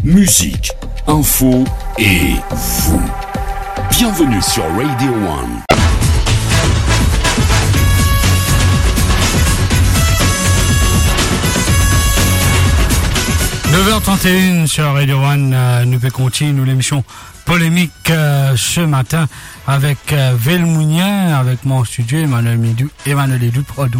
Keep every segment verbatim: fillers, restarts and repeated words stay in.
Musique, info et vous. Bienvenue sur Radio One. Neuf heures trente et une sur Radio One, euh, nou pe kontini nou lemision Polémique, euh, ce matin avec, euh, Velmounien, avec moi en studio, Emmanuel Midou, Emmanuel Edou, pardon,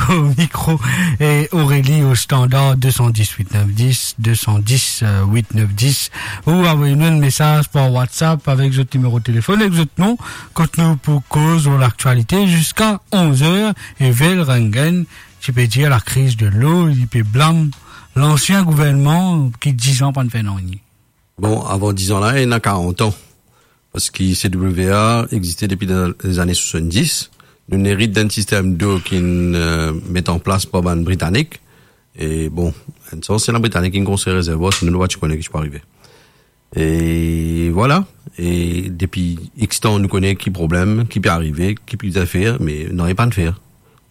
au micro, et Aurélie au standard, deux cent dix huit neuf dix, deux cent dix, euh, huit neuf dix, ou avoy nou enn mesaz par WhatsApp avek zot nimero telefone, ek zot non, kot nou pou koz lor laktialite ziska onz er, e Vel Rengen, ti pe dir lakriz delo, li pe blam lansien gouvernman ki diz an pa'nn fer nanye. Bon, avan diz an la, ena karant an. Parski C W A existe depi dan lezane swasanndis. Nou erit dan enn sistem dlo ki'nn, euh, met an plas par bann Britanik. E bon, enn sans se la Britanik ki'nn konstrir rezervwar, sinon nou pa ti kone ki ti pou arive. E vwala. E depi X tan, nou kone ki problem, ki pe arive, ki pe fer, me nanye pa'nn fer.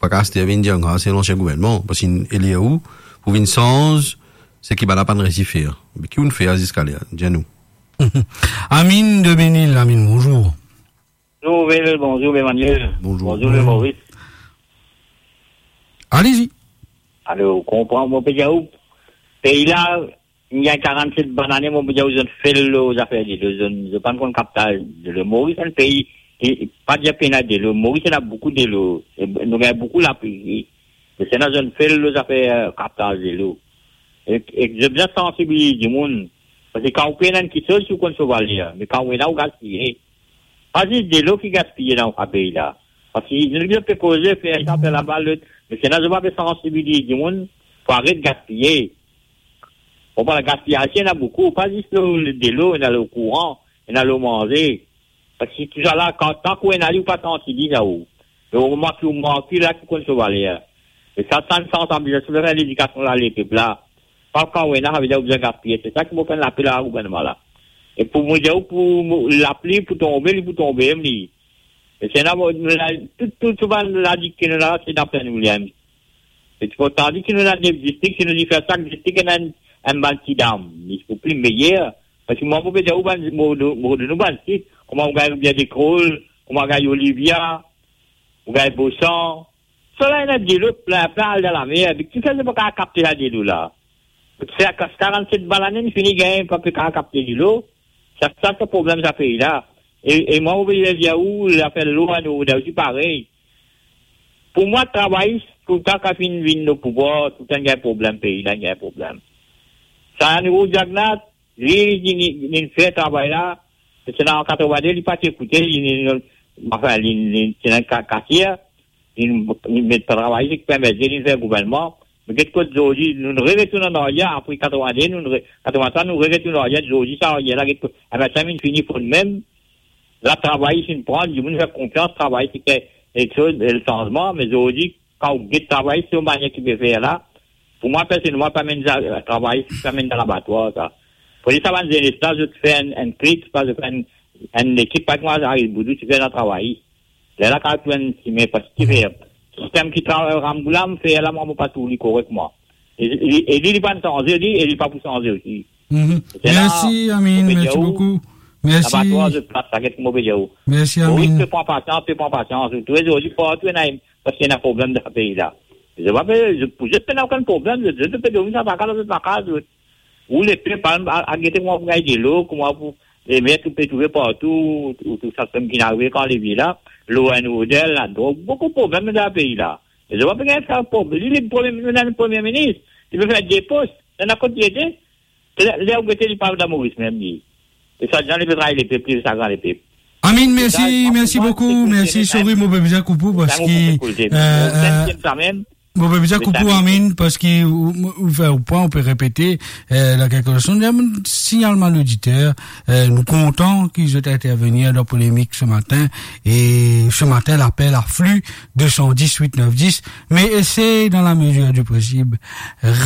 Pa kapav aster vinn dir, "Ah, se lansien gouvernman," parski elie ou pou vinn sanz seki bann la pa'nn resi fer. Me ki ou'nn fer ziska ler, dir nou. Amine de Menil, Amine, bonzour. Bonzour, Vel, bonzour, Emmanuel. Bonzour. Bonzour, le Maurice. Allez-y. Alor, konpran, mo pe dir ou, pei la, inn gagn karannset bann ane, mo pe dir ou, zot fel lor zafer delo, zot, zot pa'nn konn kaptaz delo. Moris enn pei ki, pa dir pena delo, Moris ena boukou delo, e nou gagn boukou lapli, me sena zot fel lor zafer, euh, kaptaz delo. E, e zot bizin sansibiliz dimoun, parski kan ou pena enn kiksoz, ou konn so valer, me kan ou ena, ou gaspiye. Pa zis delo ki gaspiye dan sa pei la. Parski nou bizin pe koze, fer sa, fer laba, lot, me sena zot pa pe sansibiliz dimoun pou aret gaspiye. Bon, bann gaspiyaz ena boukou, pa zis lor delo, ena lor kouran, ena lor manze. Parski tousala, kan, tan ki ou ena li, ou pa santi li, sa ou. Me moman ki ou mank li la, ki konn so valer. E sa, sa enn sansibilizasion, fer ledikasion la, lepep la. Pa kan ou ena, savedir ou bizin gaspiye. Se sa ki mo fer enn lapel a gouvernman la. E pou mo dir ou, pou mo, lapli pou tonbe, li pou tonbe mem li. E se la, mo, nou la, tou, tou, tou bann ladik ki nou la, se dan plen nou li mem. E ti pou tandi ki nou ena nef distrik, si nou difiz sak distrik ena enn, enn bann ti dam, li pou pli meyer. Parski mwa, mo pe dir ou bann, mo, mo, nou bann sit, kouma ou gagn Rivière des Crolles, kouma ou gagn Olivia, ou gagn Bosan. Sa la ena delo plin, plin al dan lamer, me kifer zot pa kapav kapte sa delo la? Sa, karannset bann ane, nou fini gagn, pa pe kapav kapte delo. Sa, sa, sa problem sa pei la. E, e mwa, mo pe dir ou, zafer lwa, nou, nou osi parey. Pou mwa, travayis, touletan kan finn vinn o pouvwar, touletan gagn problem, pei la gagn problem. Sa, nou, Jagnat, li, li, li, li fer travay la, se ena an katrovinde, li pa ti ekoute, li, li, li, anfin, li, li, ti ena ka-, kasier, li, li met travayis, li permet li fer gouvernman. Me get kot zordi, nou, nou retourn an aryer, apre katrovinde, nou, nou re-, katrovintwa, nou retourn an aryer, zordi, sa aryer la, get kot, e, sa finn fini fot mem, la, travayis finn pran, dimoun fer konfians, travayis ti fer kiksoz, e, sanzman, me zordi, kan ou get travayis, se manier ki pe fer la, pou mwa, personelman, pa amenn sa, travayis, pa amenn dan labatwar, sa. Fode sa bann zenes la, zot fer enn, enn klik, pa zot fer enn, enn lekip, pa kouma Ariel Boudou ti fer dan travayis. Lerla, kan ou enn sime, parski ki fer, sistem ki travay Rambourg la, fer la, mwa, mo pa trouv li korek, mwa. E, e, e li, li pa'nn sanze, li, e li pa pou sanze osi. Mhm. Se la, mersi, Amine, mo pe dir ou, mersi boukou. Mersi. Labatwar, zot plas, sa get ki mo pe dir ou. Mersi, Amine. Moris pe pran pasians, pe pran pasians. Ou trouve zordi partou ena, parski ena problem dan pei la. Zot pa pe, zot, pou zot pena okenn problem, zot, zot pe dormi dan sa kaz, zot lakaz, zot. Ou lepep, al, al, al gete kouma pou gagn delo, kouma pou, e, met ou pe trouve partou, ou, ou, tou sa ki finn arive kan levie la, lor enn odel, ladrog, boukou problem dan pei la. E zot pa pe gagn sa problem. Li, li premie, nou ena enn premie minis, li pe fer de pos, ena kot li ete? Ler, ler ou gete, li pa dan Moris mem, li. E sa, li pe tray lepep, li, sa gran lepep. Amine, mersi, mersi boukou, mersi, sorry, mo pe bizin koup ou, parski, euh, euh, mo pe bizin koup ou, Amine, parski ou, ou, ou fer ou pran, ou pe repete, euh, la kelke leson. Signal bann oditer, euh, nou kontan ki zot intervenir dan polemik se matin, e se matin, lapel afli, deux cent dix huit neuf dix, me esey dan lamezir di posib,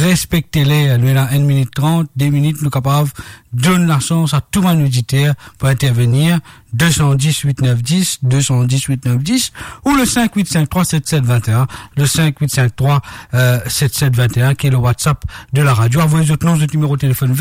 respekte ler, nou ena enn minit trant, de minit, nou kapav donn lasans a tou bann oditer pou intervenir, deux cent dix huit neuf dix, deux cent dix huit neuf dix, ou le cinq huit cinq trois sept sept vingt et un, le cinq huit cinq trois, euh, sept sept vingt et un, ki le WhatsApp de la radio. Avoy zot non, zot nimero telefonn,